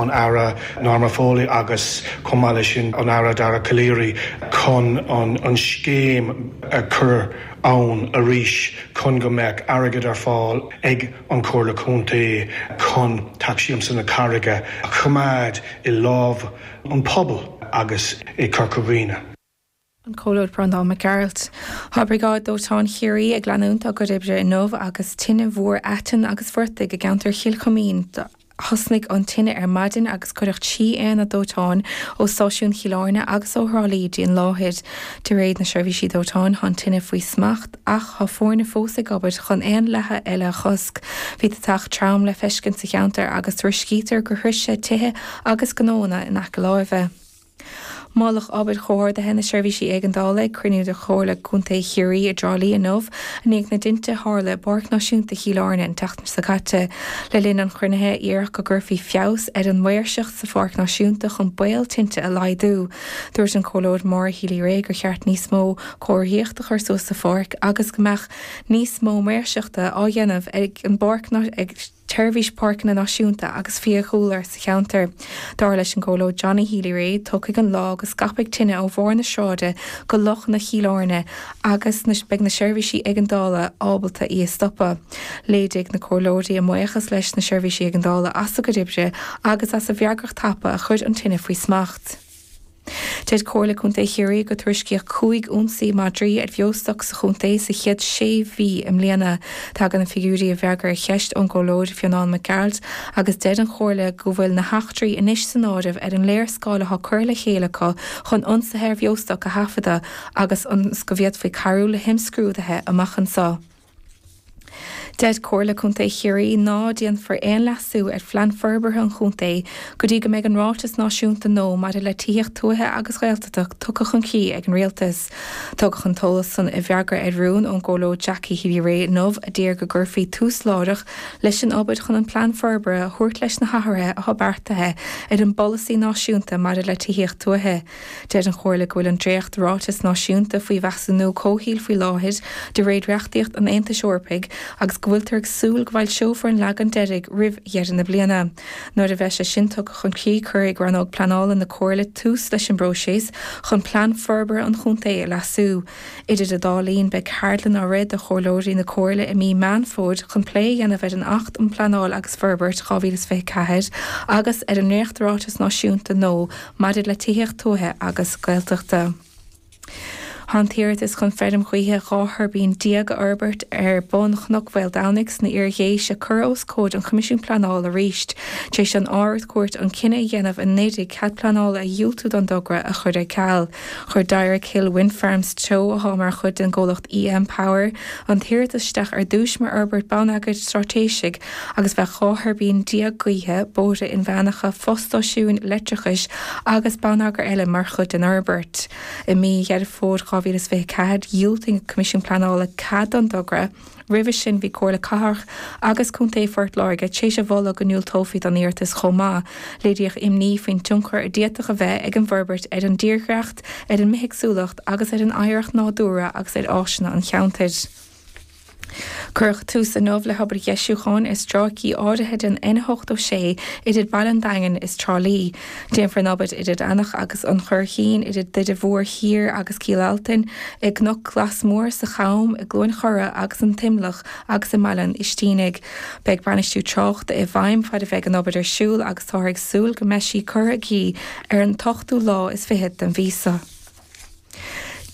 an Aire Norma Foley agus chomh maith leis sin an Aire Dara Calleary chun an scéim a chur ann arís chun go mbeadh airgead ar fáil ag an Chomhairle Contae chun Teach Siamsa na Carraige a choimeád i lámh an phobail agus i Corca Dhuibhne. An Comhairleoir Breandán Mac Gearailt. Tá Briogáid Dóiteáin Chiarraí ag leanúint dá gcuid oibre inniu agus tine mhór aiteann agus phortaigh i gceantar Chill Chuimín. Thosnaigh an tine ar maidin agus cuireadh 3 aonad dóiteáin ó stáisiún Chill Airne agus ó Thrá Lí dtí an láthair. De réir na seirbhísí dóiteáin tá an tine faoi smacht ach tá foirne fós ag obair chun aon leathadh eile a chosc. Bhí deatach trom le feiscint sa cheantar agus tuairiscítear gur shroich sé tithe agus gnóanna in aice láimhe. Moladh obair chomhordaithe na seirbhísí éigeandála ag cruinniú de Chomhairle Contae Chiarraí i dTrá Lí inniu i ndiaidh na dtinte a tharla i bPáirc Náisiúnta Chill Airne an tseachtain seo caite. Le linn an chruinnithe, iarradh go gcuirfí feabhas ar an maoirseacht sa Pháirc Náisiúnta chun baol tinte a laghdú. Dúirt an Comhairleoir Maura Healy-Rae gur cheart níos mó comharthaíocht a chur suas sa pháirc agus go mbeadh níos mó maoirseachta á dhéanamh ag an bpáirc ag tSeirbhís Páirceanna Náisiúnta agus Fiadhúlra sa cheantar. Dar leis an gComhairleoir Johnny Healy-Rae, tiocfaidh an lá go scaipfidh tine ó bharr na sráide go lochanna Chill Airne agus beidh na seirbhísí éigeandála ábalta í a stopadh. Léirigh na comhairleoirí a mbuíochas leis na seirbhísí éigeandála as a gcuid oibre agus as a bhfreagracht tapa a chuir an tine faoi smacht. Deir Comhairle Contae Chiarraí gur tuairiscíodh 5 ionsaí madraí ar bheostoc sa chontae sa chéad sé mhí i mbliana. Tagann na figiúirí i bhfreagra ar cheist ón gComhairleoir Fionán Mac Gearailt agus deir an Chomhairle go bhfuil na heachtraí anois san áireamh ar an léarscáil atá curtha le chéile acu chun ionsaithe ar bheostoc a thaifeadadh agus ionas go bhféadfaí cabhrú le himscrúduithe amach anseo. Deir Comhairle Contae Chiarraí ná déanfar aon leasú ar Phlean Forbartha an Chontae go dtí go mbeidh an Ráiteas Náisiúnta nua maidir le Tithíocht Tuaithe agus Ghaeltachta tugtha chun críche ag an Rialtas. Tugadh an t-eolas san i bhfreagra ar rún ón gComhairleoir Jackie Healy-Rae inniu a d'iarr go gcuirfí tús láithreach leis an obair chun an Plean Forbartha a thabhairt leis na hathruithe atá beartaithe ar an bpolasaí náisiúnta maidir le tithíocht tuaithe. Deir an Chomhairle go bhfuil an dréacht-ráiteas náisiúnta faoi mheasúnú comhshaoil faoi láthair de réir reachtaíocht an Aontais Eorpaigh agus go bhfuiltear ag súil go bhfoilseofar an leagan deiridh roimh dheireadh na bliana. Nuair a bheidh sé sin tugtha chun críche cuirfidh Rannóg Pleanála na Comhairle tús leis an bpróiseas chun Plean Forbartha an Chontae a leasú. Idir an dá linn, beidh ceardlann á rith do Chomhairleoirí na Comhairle i mí Meán Fómhair chun plé a dhéanamh ar an Acht um Pleanáil agus Forbairt 2024 agus ar an ndréacht-Ráiteas Náisiúnta nua maidir le Tithíocht Tuaithe agus Gaeltachta. Tá an t-iarratas chun feirm ghaoithe 12 thuirbín a fhorbairt ar bun Chnoc Mhaoldomhnaigh sna Iar-Dhéise curtha os comhair an Choimisiúin Pleanála arís tar éis don Ard-Chúirt an cinneadh a dhéanamh anuraidh cead pleanála a dhiúltú don dtogra a chur ar ceal. Chuir Dyrick Hill Wind Farms Teo, atá mar chuid den gcomhlacht EM Power, an t-iarratas isteach ar dtús mar fhorbairt bonneagair straitéisigh agus bheadh 12 thuirbín gaoithe, bóithre inmheánacha, fostáisiúin leictreachais agus bonneagar eile mar chuid den fhorbairt. I mí Dheireadh Fómhair 2024, dhiúltaigh an Coimisiún Pleanála cead don dtogra. Roimhe sin, bhí Comhairle Cathrach agus Contae Phort Láirge tar éis a mholadh go ndiúltófaí don iarratas chomh maith. Léiríodh imní faoin tionchar a d'fhéadfadh a bheith ag an bhforbairt ar an dtírdhreacht, ar an mbithéagsúlacht agus ar an oidhreacht nádúrtha agus ar áiseanna an cheantair. Cuireadh tús inniu le hobair dheisiúcháin ar stráicí áirithe den N86 idir Baile an Daingin is Trá Lí. Déanfar an obair idir Eanach agus an Churraichín, idir Doire Mhór Thiar agus Cill Altain, i gCnoc Glas Mór, sa Cham, i gCluain Chora agus an T-Imleach agus i mBaile an Oistínigh. Beidh bainistiú tráchta i bhfeidhm fad a bheidh an obair ar siúl agus táthar ag súil go mbeidh sí curtha i gcrích ar an t-ochtú lá is fichead den mhí seo.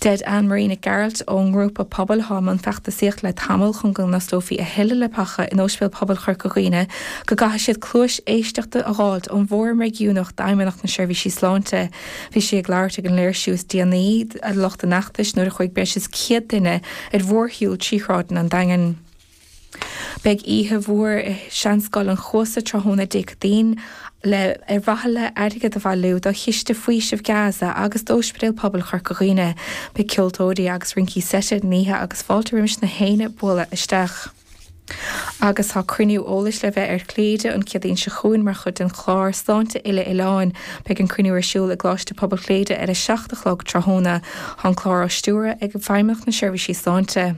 Deir Anne Marie Nic Gearailt ón ngrúpa pobail atá i mbun feachtasaíocht le tamall chun go n-osclófaí a thuilleadh leapacha in Ospidéal Pobail Chorca Dhuibhne go gcaithfidh siad cluais éisteachta a dh'fháilt ón bhFóram Réigiúnach d'Fheidhmeannacht na Seirbhísí Sláinte. Bhí sí ag labhairt ag an léirsiú is déanaí de lucht an fheachtais nuair a chuaigh breis is 100 duine ar mhórshiúl trí shráideanna an Daingin. Beidh oíche mhór i Seanscoil an Chuasa tráthnóna Dé Céadaoin le ar mhaithe le airgead a bhailiú do Chiste Faoisimh Gaza agus d'Ospidéal Pobail Chorca Dhuibhne. Beidh ceoltóirí agus rincí seite ar an oíche agus fáilte roimis na héinne bualadh isteach. Agus tá cruinniú eolais le bheith ar Chléire an Chéadaoin seo chugainn mar chuid den chlár Sláinte Uile-Oileáin. Beidh an cruinniú ar siúl i gColáiste Pobail Chléire ar 7 a chlog tráthnóna. Tá an clár á stiúradh ag Feidhmeannacht na Seirbhísí Sláinte.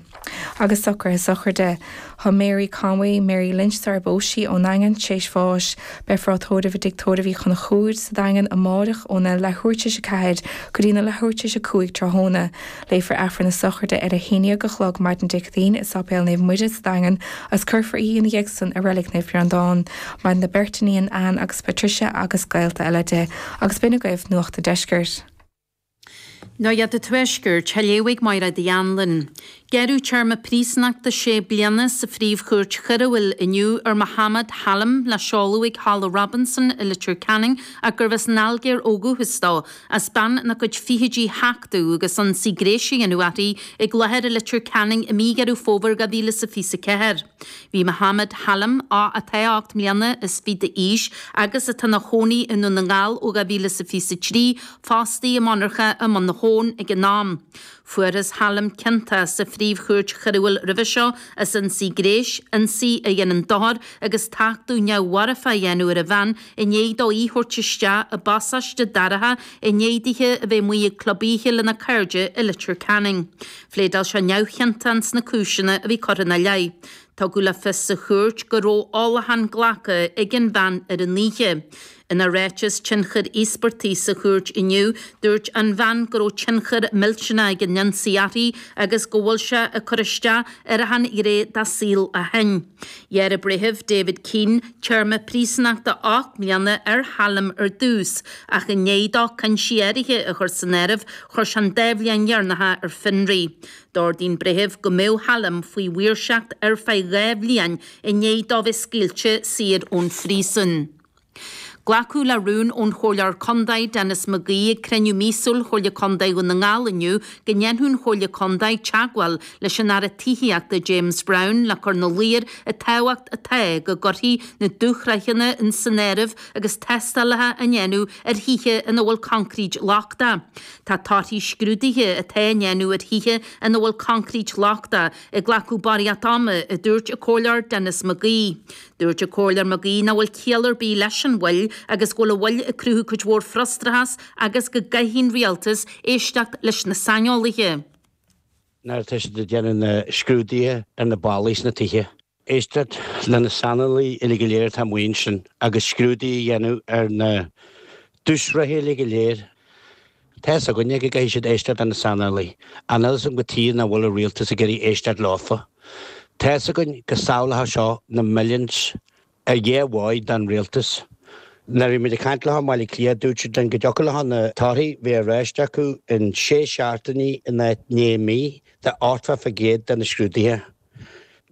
Agus socruithe sochraide. Tá Mary Conway, Mary Lynch sar ar phós sí, ón nDaingean, tréis bháis. Beifear á tórramh i dTigh Tórraimh Uí Chonchúir sa Daingean amáireach óna leathuair tar éis 4 go dtí na leathuair tar éis 5 tráthnóna. Léifear Aifreann na sochraide ar a 11 a chlog maidin Dé Céadaoin i Sáipéal Naomh Muire sa Daingean agus cuirfear í ina dhiaidh san i Reilig Naomh Breandán. Maireann a beirt iníon, Anne agus Patricia agus gaolta eile di. Agus b'in agaibh Nuacht an Deiscirt. Nuacht an Tuaiscirt, á léamh ag Máiréad Uí Anluain. Gearradh téarma príosúnachta sé bliana sa Phríomh-Chúirt Choiriúil inniu ar Mohammed Halim le seoladh ag Halla Robinson i Leitir Ceanainn ach gurbh as an Ailgéir ó dhúchas dó, as bean ina cuid fichidí a thachtadh agus ionsaí gréis a dhéanamh uirthi ag láthair i Leitir Ceanainn i mí Dheireadh Fómhair 2024. Bhí Mohammed Halim, atá 8 mbliana is fiche d'aois agus atá ina chónaí i nDún na nGall ó 2023, fostaithe i monarcha i mBun na hAbhann ag an am. Fuarthas Halim ciontach sa Phríomh-Chúirt Choiriúil roimhe seo as ionsaí gréis, ionsaí a dhéanann dochar agus tachtadh neamh-mharfach a dhéanamh ar an bhean i ndiaidh dó í a thabhairt isteach i bpasáiste dorcha i ndiaidh dithe a bheith amuigh ag club oíche lena cairde i Leitir Ceanainn. Phléadáil sé neamhchiontach ins na cúiseanna a bhí curtha ina leith. Tugadh le fios sa chúirt go raibh ólachán glactha ag an bhean ar an oíche. Ina ráiteas tionchair íospartaigh sa chúirt inniu, dúirt an bhean go raibh tionchar millteanach ag an ionsaí uirthi agus go bhfuil sé ag cur isteach ar achan ghné dá saol ó shin. Ghearr an Breitheamh David Keane téarma príosúnachta 8 mbliana ar Halim ar dtús ach i ndiaidh dó cúinsí áirithe a chur san áireamh, chuir sé an dá bhliain dheireanacha ar fionraí. D'ordaigh an Breitheamh go mbeadh Halim faoi mhaoirseacht ar feadh 2 bhliain i ndiaidh dó bheith scaoilte saor ón phríosún. Glacadh le rún ón Chomhairleoir Contae, Denis McGee ag cruinniú míosúil Chomhairle Contae Dhún na nGall inniu go ndéanfadh an Chomhairle Contae teagmháil leis an Aire Tithíochta James Browne le cur ina luí air an tábhacht atá go gcuirfí na dúshraitheanna san áireamh agus tástálacha á ndéanamh ar thithe ina bhfuil concrete lochtach. Tá torthaí scrúduithe atá á ndéanamh ar thithe ina bhfuil concrete lochtach ag glacadh barraíocht ama, a dúirt an Comhairleoir Denis McGee. Dúirt an Comhairleoir McGee nach bhfuil ciall ar bith leis an mhoill agus go bhfuil an mhoill ag cruthú cuid mhór frustrachas agus go gcaithfidh an Rialtas éisteacht leis na saineolaithe. Nuair atá siad ag déanamh na scrúduithe ar na ballaí sna tithe, éisteacht le na saineolaithe uilig go léir atá amuigh ansin agus scrúduithe a dhéanamh ar na dúshraithe uilig go léir. Tá fhios againne go gcaithfidh siad éisteacht le na saineolaithe. Níl fhios agam cad chuige nach bhfuil an rialtas ag iarraidh éisteacht leofa. Tá fhios againn go sábhálfadh seo na millions ar dhá dhóigh don rialtas. Nuair a bhí muid ag caint leo i mBaile Átha Cliath dúirt siad linn go dtiocfadh leo na torthaí bheith ar ais acu in sé seachtainí in áit 9 mí de 80% de na scrúduithe.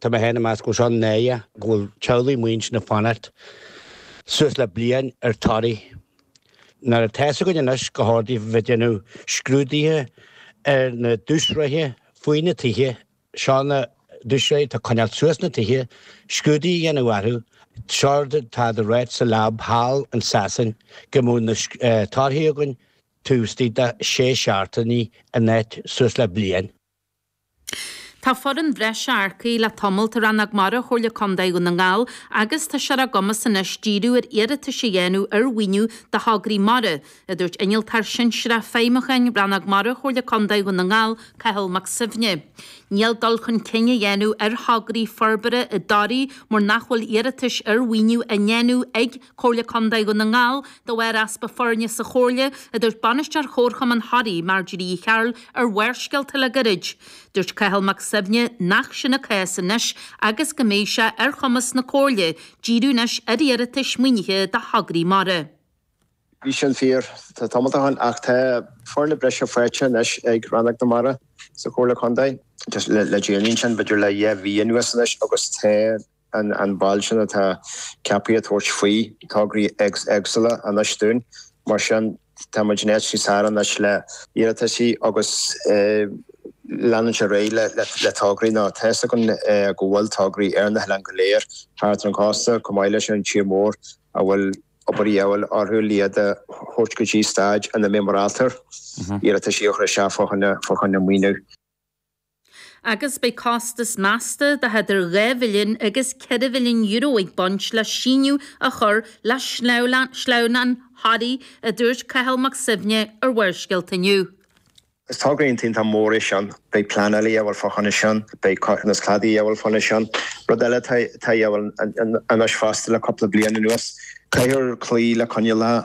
Tá mé féin ag meas go bhfuil seo náireach go bhfuil teaghlaigh amuigh ansin ag fanacht suas le bliain ar torthaí. Nuair atá fhios againn anois go chóir daofa bheith ag déanamh scrúduithe ar na dúshraithe faoi na tithe, seo na dúshraithe atá ag coinneáil suas na tithe, scrúduithe a dhéanamh orthu, seo rud atá á ráit sa lab thall in Sasain go mbeadh na torthaí againn taobh istigh de sé seachtainí in áit suas le bliain. Tá foireann bhreise earcaithe le tamalt i Rannóg Mara Chomhairle Contae Dhún na nGall agus tá sé ar a gcumas anois díriú ar iarratais a dhéanamh ar mhaoiniú do thograí mara, a dúirt Innealtóir Sinsearach Feidhmiúcháin Rannóg Mara Chomhairle Contae Dhún na nGall, Cathal Mac Suibhne. Níl dul chun cinn á dhéanamh ar thograí forbartha i dToraigh mar nach bhfuil iarratais ar mhaoiniú á ndéanamh ag Comhairle Contae Dhún na nGall de bharr easpa foirne sa Chomhairle, a dúirt Bainisteoir Chomharchumann Thoraí, Marjorie Uí Chearúil, ar Bharrscéalta le gairid. Dúirt Cathal Mac Suibhne nach sin an cás anois agus go mbeidh sé ar chumas na Comhairle díriú anois ar iarratais maoinithe do thograí mara. Bhí sin fíor tamall ó shin ach tá foirne breise faighte anois ag Rannóg na Mara sa Chomhairle Contae le déanaí ansin, b'fhéidir le dhá mhí anuas anois agus tá an ball sin atá ceaptha ag tabhairt faoi tograí éagsúla anois dúinn. Mar sin, tá muid in áit níos fearr anois le iarrataisí agus leanúint ar aghaidh le tograí nó tá fhios againn go bhfuil tograí ar na hoileáin go léir thart ar an chósta, chomh maith leis an tír mór a bhfuil obair a dhíobháil orthu le iad a thabhairt go dtí staid ina mbeidh muid ábalta iarrataisí a chur isteach fá choinne maoiniú. Agus beidh costas measta de idir €2 mhilliún agus €4 mhilliún ag baint le síneadh a chur le sleamhnán Thoraí, a dúirt Cathal Mac Suibhne ar Bharrscéalta inniu. Is togra iontach mór é sin. Beidh pleanáil a dhíobháil fá choinne sin, beidh cothromas cladaigh a dhíobháil fá choinne sin. Rud eile atá a dhíobháil anois fosta le cúpla bliain anuas, caithfear cloí le coinníollacha.